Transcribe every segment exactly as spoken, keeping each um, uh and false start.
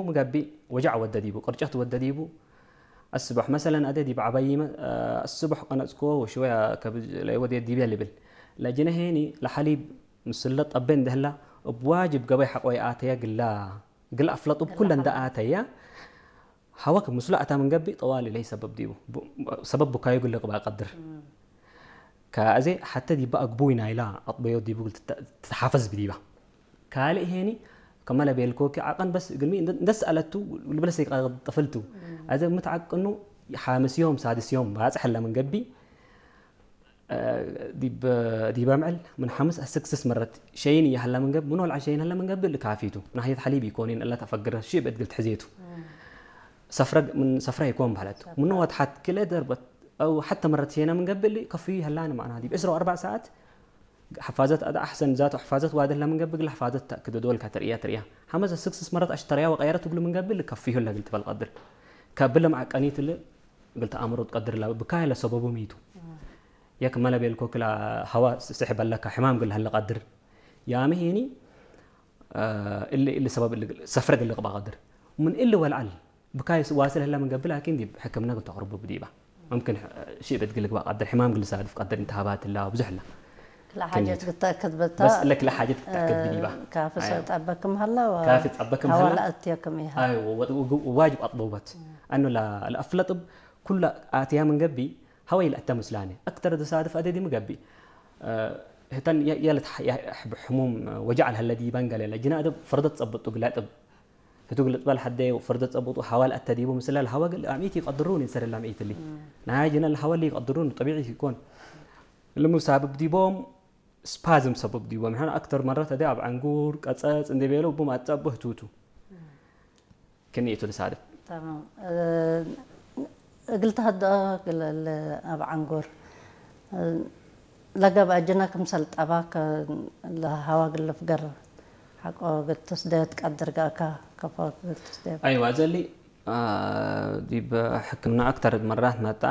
ምገብእ ወጀዕ ወደ ዲቡ፣ ቅርጨት ወደ ዲቡ። አስቦሕ መሰለን አደ ዲብ ዐባይመ፣ አስቦሕ ቀነጽኮ ወሽወያ ከብድ ለወዴ ዲብያ ልብል። ለጅነ ሄኒ ለሐሊብ ምስለ ጠቤ እንደ ህላ፣ እብ ዋጅብ ገበይ ሐቆ ይአተያ ግላ፣ ግል አፍለጥ እብ ኩለ እንደ አተያ፣ ሀወክ ምስሉ አታ ምን ገብእ ጠዋሊ ለይሰበብ ዲቡ። ቡ-፣ ሰበብ ቡካዩ እግል ልቅበእ ቀድር። ከአዜ ሐተ ዲበ አግቡይ ናይላ አጥበዮ ዲቡ እግል ትተ-፣ ትትሓፈዝ ብዲባ። ካልእ ሄኒ ከመ ለቤልኮኪ ዐቀን በስ እግልሚ እንደ፣ እንደ ሰአለቱ ልብለስ ይቀጥፍልቱ። አዜ ምትዐቅኑ ሓምስ ዮም ሳድስ ዮም ባጽሕ ህለ ምን ገብእ፣ ዲብ፣ ዲብ አምዕል ምን ሐምስ አስክ ስስ መረት ሸይን እየ ሀለ ምን ገብእ፣ ምን ወልዓ ሸይን ሀለ ምን ገብእ፣ እሊ ካፊቱ። ናህየት ሐሊብ ኢኮኒን እለ ተፈግረ፣ ሽእብ እት ግል ትሕዜቱ። ሰፍረ፣ ምን ሰፍረ ኢኮን በህለት። ምኑ ወትሐት ክልኤ ደርበት፣ አው ሐተ መረት ሸይነ ምን ገብእ፣ እሊ ከፍዩ ሀላኒ መዕናህ። ዲብ ዕስራ ወአርበዕ ሰዓት፣ ሐፋዘት አደ አሕሰን ዛቱ ሐፋዘት ዋዲ ህለ ምን ገብእ፣ እግል ሐፋዘት ተአክድ ወዶልካ ተርእያ፣ ተርእያ። ሐመስ አስክ ስስ መረት አሽተረያ ወቀየረት እግሉ ምን ገብእ፣ እሊ ከፍዩ ህለ እግል ትበል ቀድር። ከብለ መዐቀኒት እሊ እግል ተአምሮ ትቀድር እላ ብካይ ለሰበቡ ሚቱ። የክመ ለቤልኮ ክላ ሀዋ ስሕብ አለካ ሕማም እግል ለሀለ ቀድር። ያመ ሄኒ፣ አ፣ እሊ፣ እሊ ሰበብ እሊ ሰፍረ እግል ልቅባ ቀድር። ምን እሊ ወልዓል ብካይ ዋስል ህለ ምን ገብእ ላኪን ዲብ ሕክምና እግል ተቅርቡ ብዲባ። ሙምክን ሺ እብ እግል ልግባ ቀድር፣ ሕማም እግል ልሳድፍ ቀድር፣ ኢልትሃባት እላ ብዙሕ እላ። ክለ ሓጀት ክኒቱ። ክትአክድ በታ፣ በስ ለክለ ሓጀት ክትአክድ እ፣ ብዲባ። ካፊ አይዋ። ጸብጠበክም ሀላ ወ-፣ ካፊ ጸበክም ሀዋ ሀላ። ለአትየክም ኢሃ። አይዋ፣ ወ-፣ ወ-፣ ዋጅብ አጥበውበት። አኑ ለ-፣ ለአፍለጥብ ኩለ አትያ ምን ገብእ ሀወይ ለአተ ምስላነ። አክተር ድሳድፍ አደዲ ምን ገብእ። እ፣ ህተን የ-፣ የለት ሐ-፣ የ-፣ ሕብ-፣ ሕሙም ወጃዕ ለሀለ ዲበን ገሌ ለጅነ አደብ ፈርደት ጸብጡ ግላጥብ። ህቱ እግል ልጥበል ሐዴ ወፈርደት ጸብጡ ሀዋ ለአተ ዲቡ ምስለ ለሀዋ እግል አምኢት ይቀድሩኒ እንሰር እለ አምኢት እሊ። ናይ ጅነ ለሀዋ እሊ ይቀድሩኒ ጠቢዒ ኢኮን። እሊ ምን ሳብብ ዲቦም ስፓዝም ሰብብ ዲቦም። ሕነ አክተር መረት አደ አብ ዐንጉር፣ ቀጸጽ እንዴ ቤለው እቡ ማጸ እቡ ህቱቱ። ክኒቱ ልሳድፍ። ተማም። እ፣ እግል ተሀድኦ እግል ለ-፣ አብ ዐንጉር፣ እ፣ ለገብአ ጅነ ክምሰል ጠባ ከ-፣ ለሀዋ እግል ልፍገር ሐቆ እግል ትስደዮ ትቀድር ገአካ፣ ከፎ እግል ትስደዮ። አይዋ፣ ዘሊ፣ አ፣ ዲብ ሕክምና አክተር መራት መጣ፣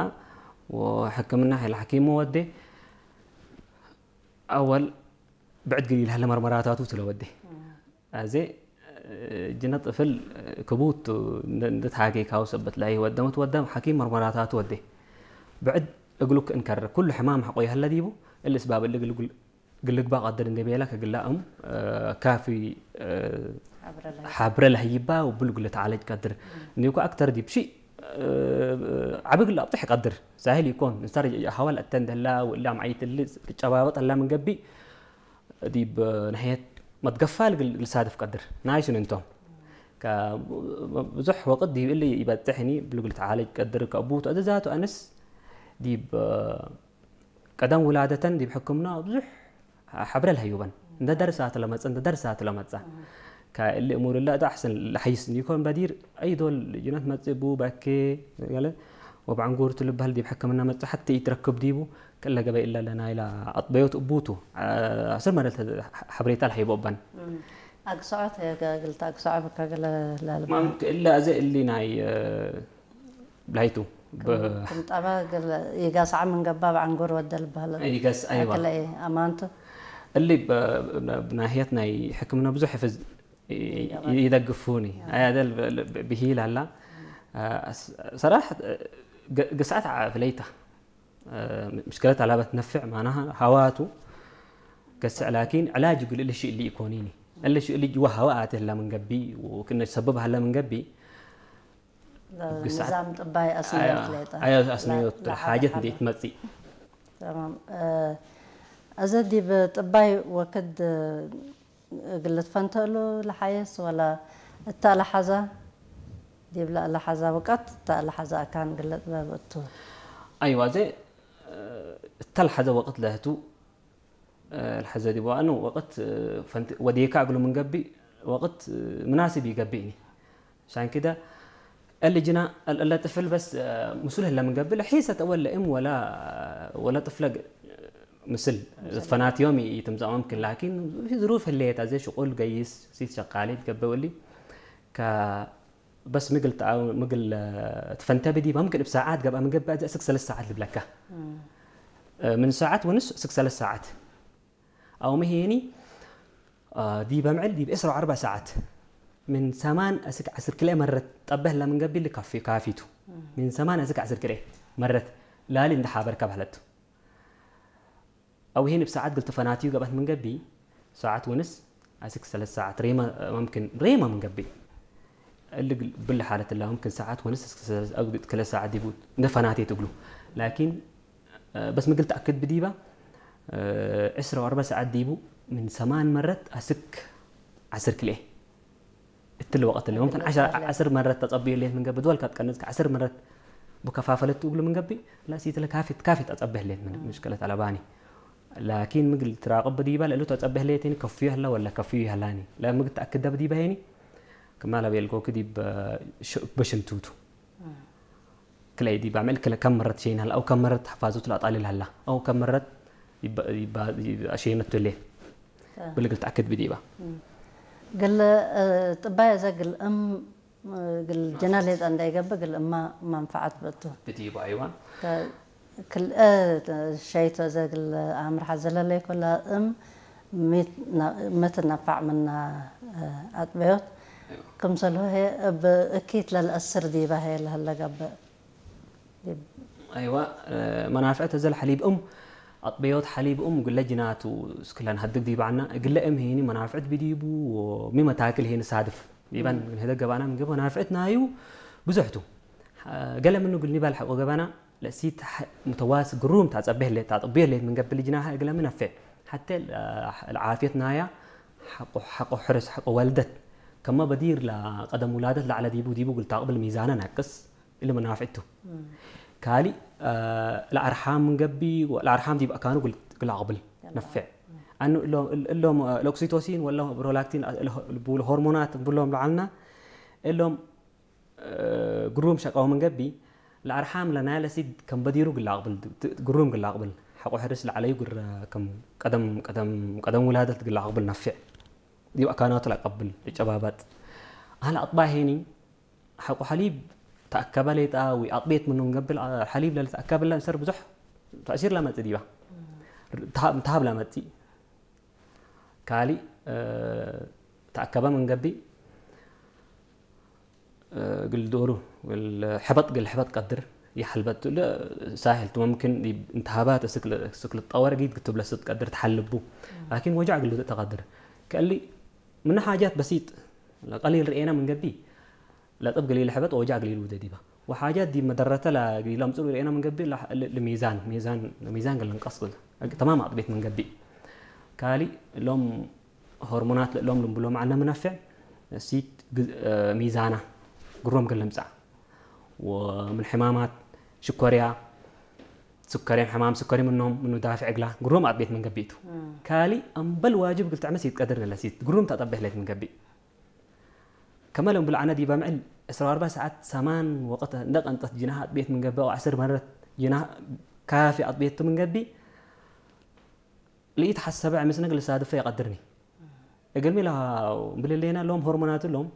ወሕክምና ሐይል ሐኪሙ ወዴ፣ አወል ብዕድ እግል ኢልሀለ መርመራታቱ ቱ ለወዴ። አዜ፣ እ፣ ጅነ ጥፍል፣ እ፣ ክቡት ቱ፣ እንደ፣ እንደ ተሃጌካሁ ሰበት ላይ ወደመት ወደም ሐኪም መርመራታቱ ወዴ። ብዕድ እግሉ ክእንከረ፣ ኩሉ ሕማም ሐቆ ይሀለ ዲቡ፣ እሊ እስባብ እሊ እግል፣ እግል ልግባእ ቀድር እንዴ ቤለ ከግላእም፣ እ፣ ካፊ፣ እ፣ ሐብረ ለህይባ። ሐብረ ለህይባ ወብሉ እግል ልትዓለጅ ቀድር። እንዲኮ አክተር ዲብ ሺ፣ እ፣ ዐቢ እግል አብጥሕ ቀድር። ሳህል ኢኮን። እንሳር ሀዋ ለአተ እንደ ህላ ወእላ አምዓይት እሊ ልጨባበጥ ህላ ምን ገብእ፣ ዲብ ነህየት መትገፋል እግል ልሳድፍ ቀድር። ናይ ሽን እንቶም። ከ-፣ ብዙሕ ወቅት ዲብ እሊ ኢበጽሕ ህኒ እግል ልትዓለጅ ቀድር። ከአቡቱ አዜ ዛቱ አንስ ዲብ ቀደም ውላደተን ዲብ ሕክምና ብዙሕ ሐብረ ለሀዩበን። እንደ ደርሳት ለመጽእ፣ እንደ ደርሳት ለመጽእ። ከእሊ እሙር እለ እተ አሕሰን ለሐይስ እንዲኮን በዲር፣ አይ ዶል ጅነት መጽእ ቡ በኬ፣ ገለ ወብዐንጉር ቱ ልበህል ዲብ ሕክምና መጽእ ሐቴ ኢትረክብ ዲቡ፣ ክለ ገበይ እለ ለናይላ አጥበዮት እቡቱ፣ ዐስር መደት ሐብሬታ ለሀይቦ እበን። እም። አግሰዖት፣ እግልተ አግሰዖ በካ ገለ ለልበ። ማም ክእለ አዜ እሊ ናይ፣ እ፣ ብላይቱ። ክም፣ ብ-፣ ክም ጠበ ገለ ኢጋስዐ ምን ገባ በዐንጉር ወደ ልበህል። ኢጋስ፣ አይዋ። አክለ አማንቱ። እሊ ብ-፣ ብ-፣ ብናህየት ናይ ሕክምና ብዙሕ ሕፍዝ ይ-፣ ይደግፉኒ። አያ ደል ብ-፣ ብ-፣ ብሂል አላ። አ፣ ስ-፣ ሰራሐት፣ ግ-፣ ግስዐት ዐ-፣ ፍለይታ። አ፣ ምሽክለት አላበት ነፍዕ ማናሃ ሀዋቱ ገስዕ ላኪን ዕላጅ እግል እሊ ሽእሊ ኢኮኒኒ። እሊ ሽእሊ ጅዋ ሀዋ አቴ ህላ ምን ገብእ ወክነ ሰብብ ሀላ ምን ገብእ ግሳት ንዛም ጥባይ አስንዮት ሌጠ። አያ አስንዮት ለ-፣ ለሓጀት ለሓጀት እንዴ ኢትመጽእ። ተማም። እ፣ አዘ ዲብ ጥባይ ወክድ እግል ልትፈንተእሉ ለሓየስ ወላ እተ ለሐዘ ዲብ ለለሐዘ ውቀት እተ ለሐዘ አካን እግል ልጥበብ እቱ? አይዋ፣ አዜ፣ እ፣ እተ ለሐዘ ወቅት ለህቱ ለሐዘ ዲብ ወአኑ ወቅት ፈንት-፣ ወዴካ እግሉ ምን ገብእ ወቅት ምናስብ ኢገብእኒ። ዐሻን ክደ እሊ ጅና እለ ጥፍል በስ ምስሉ ህለ ምን ገብእ ለሒሰት አወል ለእም ወላ፣ ወላ ጥፍለ ምስል ፈናት ዮም ኢትምጸእ መምክን፣ ላኪን ዝሩፍ ህሌት አዜ ሽቁል ገይስ ሲት ሸቃሊት ገብእ ወሊ ከ በስ ምግል ተአው-፣ ምግል፣ እ፣ ትፈንተ ብዲብ፣ ሙምክን እብ ሳዓት ገብአ ምን ገብአ፣ አዜ እስክ ሰለስ ሳዓት ልብለካ። እም። እ፣ ምን ሳዓት ወንስ እስክ ሰለስ ሳዓት። አው መሄኒ፣ እ፣ ዲብ አምዕል ዲብ ዕስራ ወአርበዕ ሳዓት። ምን ሰማን እስክ ዐስር ክልኤ መረት ጠበህ ለምን ገብእ ልካፊ-፣ ካፊቱ። ምን ሰማን እስክ ዐስር ክልኤ መረት ላሊ እንደ ሓበርከ በህለቱ። አው ሄን እብ ሰዓት ግል ትፈናትዩ ገብአት ምን ገብእ፣ ሰዓት ወንስ አስክ ሰለስ ሰዓት ሬማ፣ መምክን ሬማ ምን ገብእ። እሊ ግል ብለ ሓለት እላ መምክን ሰዓት ወንስ እስክ ሰለስ አው ክለ ሰዓት ዲቡ እንደ ፈናቴት እግሉ። ላኪን፣ እ፣ በስ ምግል ተአክድ ብዲባ፣ እ፣ ዕስራ ወአርበዕ ሰዓት ዲቡ ምን ሰማን መረት አስክ ዐስር ክልኤ። እትሊ ወቀት እሊ መምክን ዐሸር፣ ዐስር መረት ተጸብዩ ህሌት ምን ገብእ፣ ድወልካ ትቀንጽ ከዐስር መረት ብከፋፈለት እግሉ ምን ገብእ፣ ላሲት ለካፊት፣ ካፊት አጸብህ ህሌት ምን ምሽክለት አለባኒ። ላኪን ምግል ትራቅብ ዲባ ለእሉ ተጸብህ ህሌት ሄኒ ከፍዩ ህላ ወላ ከፍዩ ይህላኒ። ለምግል ተአክደ ብዲባ ሄኒ፣ ክማ ለቤልኮክ ዲብ ሽ-፣ በሽንቱቱ። ክለ ዲብ አምዕል ክለ ከም መረት ሼን ሀላ፣ አው ከም መረት ሐፋዙት ለአጣልል ሀላ፣ አው ከም መረት ይባ-፣ ይባ-፣ ይባ-፣ አሼነቱ ህሌት። አ። ብልግል ተአክድ ብዲባ። እም። ግል፣ እ፣ ጥባይ እዘ ግል እም፣ እ፣ ግል ጅና ሌጠ እንዳይገብእ ግል እማ መንፈዓት በቱ። ብዲባ፣ አይዋ። ከ-፣ ክል፣ እ፣ ሸይቶ እዘ ግል አምር ሐዘ ለለይኮ ለእም ሚት ነ-፣ ምትነፋዕ ምና፣ እ፣ አጥበዮት። አይዋ። ክምሰልሁ ህዬ እብ እኪት ለልአስር ዲባ ህዬ ለህለ ገብእ። አይዋ፣ እ፣ መናፍዕት እዘ ለሐሊብ እም፣ አጥበዮት ሐሊብ እም እግለ ጅናቱ እስክ ለንሀድግ ዲብ ዐና፣ እግለ እም ሄኒ መናፍዕት ብዲቡ ወሚ መታክል ሄኒ ሳድፍ ዲባን እም። ንህደግ ገባና ምን ገብእ መናፍዕት ናዩ ብዙሕ ቱ። ሐ-፣ ገለ ምኑ እግል ኒባል ሐቆ ገባና፣ ለእሲት ሐ-፣ ሙተዋስ ግሩም ታጸቤ ህሌት፣ ታጥቤ ህሌት ምን ገብእ ልጅናሀ እግለ ሚ ነፌዕ። ሐቴ ለ-፣ ለዓፍየት ናያ ሐቆ፣ ሐቆ ሕርስ፣ ሐቆ ወልደት፣ ከመ በዲር ለቀደም ውላደት ለዐለ ዲቡ፣ ዲቡ እግል ታቅብል ሚዛነ ናቅስ። እሊ መናፍዕቱ። እም። ካልእ፣ አ፣ ለአርሓም ምን ገብእ፣ ለአርሓም ዲብ አካኑ እግል፣ እግል አቅብል ነፌዕ። እም። አኑ እሎም፣ እል-፣ እሎም፣ አ፣ ለኦክሲቶሲን ወለ ፕሮላክቲን፣ አ፣ ለ-፣ ልቡሉ ሆርሞናት ብሎም ለዐልና፣ እሎም፣ አ፣ ግሩም ሸቀው ምን ገብእ፣ ለአርሓም ለናይለ ሲድ ከም በዲሩ እግል አቅብል፣ ት-፣ ግሩም እግል አቅብል። ሐቆ ሕርስ ለዐለዩ ግረ ከም ቀደም፣ ቀደም፣ ቀደም ውላደት እግል አቅብል ነፌዕ። ዲብ አካናቱ ለአቀብል፣ ልጨባባጥ። አህለ አጥባይ ሄኒ፣ ሐቆ ሐሊብ ተአከበ ሌጣ ወአጥቤት ምኑ እንገብእ፣ ሐሊብ ለልትአከበ ለእንሰር ብዙሕ ተእሲር ለመጽእ ዲባ። ተሃብ፣ ተሃብ ለመጽእ። ካልእ፣ እ፣ ተአከበ ምን ገብእ፣ እ፣ እግል ዶሩ፣ እግል ሕበጥ፣ እግል ሕበጥ ቀድር ይሐልበቱ። ለ-፣ ሳህል ቱ፣ መምክን ዲብ እንተሃባት እስክ ል-፣ እስክ ልትጠወር እጊት ክትብለስ ትቀድር ተሐልቡ። ላኪን ወጃዕ እግል ልውዴ ተቀድር። ከእሊ ምነ ሓጃት በሲጥ፣ ለቀሊል ርኤና ምን ገብእ፣ ለጥብ እግል ኢልሕበጥ ወወጃዕ እግል ኢልውዴ ዲባ። ወሓጃት ዲብ መደረተ ለእግል ኢለምጽኡ ርኤና ምን ገብእ፣ ለ-፣ ል-፣ ለሚዛን፣ ሚዛን፣ ሚዛን እግል ልንቀስ፣ ተማም አጥቤት ምን ገብእ። ካልእ እሎም ሆርሞናት ለእሎም ልንብሎም ዐልነ ምነፍዕ፣ ሲት ግ-፣ ሚዛና ግሮም እግል ልምጻእ። ወምን ሕማማት ሽኮርያ፣ ስከርዮም ሕማም ስከሪ ምኖም፣ ምኑ ዳፍዕ እግላ፣ ግሮም አጥቤት ምን ገብእ ቱ። እም። ካልእ አምበል ዋጅብ እግል ተዕመ ሲት ቀድር ለሲት ግሮም ተአጠቤ ህሌት ምን ገብእ። ከመ ለእምብል ዐነ ዲበ ምዕል ዕስራ ወአርበዕ ሰዓት ሰማን ወቅት እንደ ቀንጠት ጅናህ አጥቤት ምን ገብእ፣ አው ዐስር መረት ጅናህ ካፊ አጥቤት ቱ ምን ገብእ፣ ለኢተሐሰበ ዕምስነ እግል ልሳድፈ ይቀድርኒ። እግልሚ ለሃው እምብል ህሌነ እሎም ሆርሞናት እሎም፣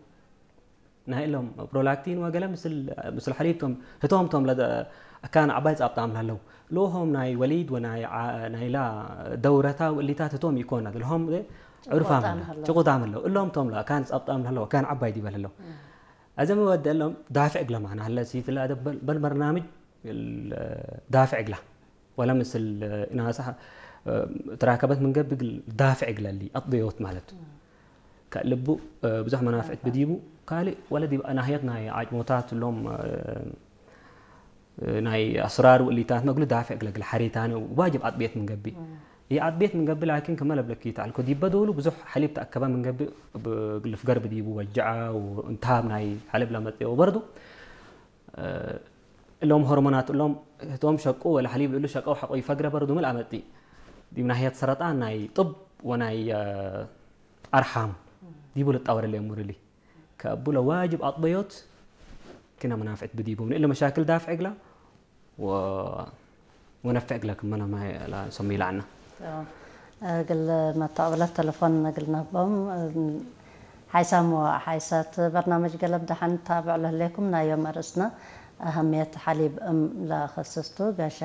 ናይ እሎም ፕሮላክቲን ወገለ ምስል፣ ምስል ሐሊብ ቶም፣ ህቶም ቶም ለደ-፣ አካን ዐባይ ጻብጣም ለህለው። ለሆም ናይ ወሊድ ወናይ ዓ-፣ ናይላ ደውረታ ወእሊታት ህቶም ኢኮናት። ለሆም ዕሩፋም ጭቁጣም ህለው፣ ህለው። ጭቁጣም ህለው። እሎም ቶም ለአካን ጻብጣም ለህለው፣ አካን ዐባይ ዲበ ለህለው። እም። አዘ ሚ ወደ እሎም ዳፍዕ እግለ ማና ህለ ሲት ለአደብ በል፣ በል በርናምጅ ዳፍዕ እግላ። ወለ ምስል እናሰ፣ እ፣ ትራከበት ምን ገብእ እግል ዳፍዕ እግለ እሊ አጥብዮት ማለት ቱ። ከልቡ፣ እ፣ ብዙሕ መናፍዕት ብዲቡ፣ ካልእ ወለ ዲብ ናህየት ናይ ዓጭሞታት እሎም፣ እ፣ ናይ አስራር ወእሊታት መግሉ ዳፍዕ እግለ እግል ሐሬታኒ ዋጅብ አጥብየት ምን ገብእ። እም። ይአጥብየት ምን ገብእ ላኪን ክመ ለብለኪ ተዐልኮ ዲበ ዶሉ ብዙሕ ሐሊብ ተአከበ ምን ገብእ እብ-፣ እግል ፍገር ብዲቡ ወጀዐ ወእንትሃብ ናይ ሐሊብ ለመጽኦ ወበርዱ፣ እ፣ እሎም ሆርሞናት እሎም ህቶም ሸቁ ወለ ሐሊብ እሉ ሸቀው ሐቆ ይፈግረ በርዱ ምን አመጽእ። ዲብ ናህየት ሰረጣን ናይ ጥብ ወናይ፣ እ፣ አርሓም ዲቡ ልጣወር እሊ እሙር እሊ። ከእቡ ለዋጅብ አጥበዮት ክነ መናፍዕት ብዲቡ ምን እሊ መሻክል ዳፍዕ እግላ ወ-፣ ወነፍዕ እግለ ክመ ለማይ ለሰሚ ለዐና። እግል መተቅብለት ተለፎን እግል ነህቦም። ሓይሳም ወሓይሳት በርናመጅ ገለብ ደሐን ታብዕ ለህሌኩም። ናይ ዮም አርእስነ አሀምየት ሐሊብ እም ለከስስቱ። ጋሻ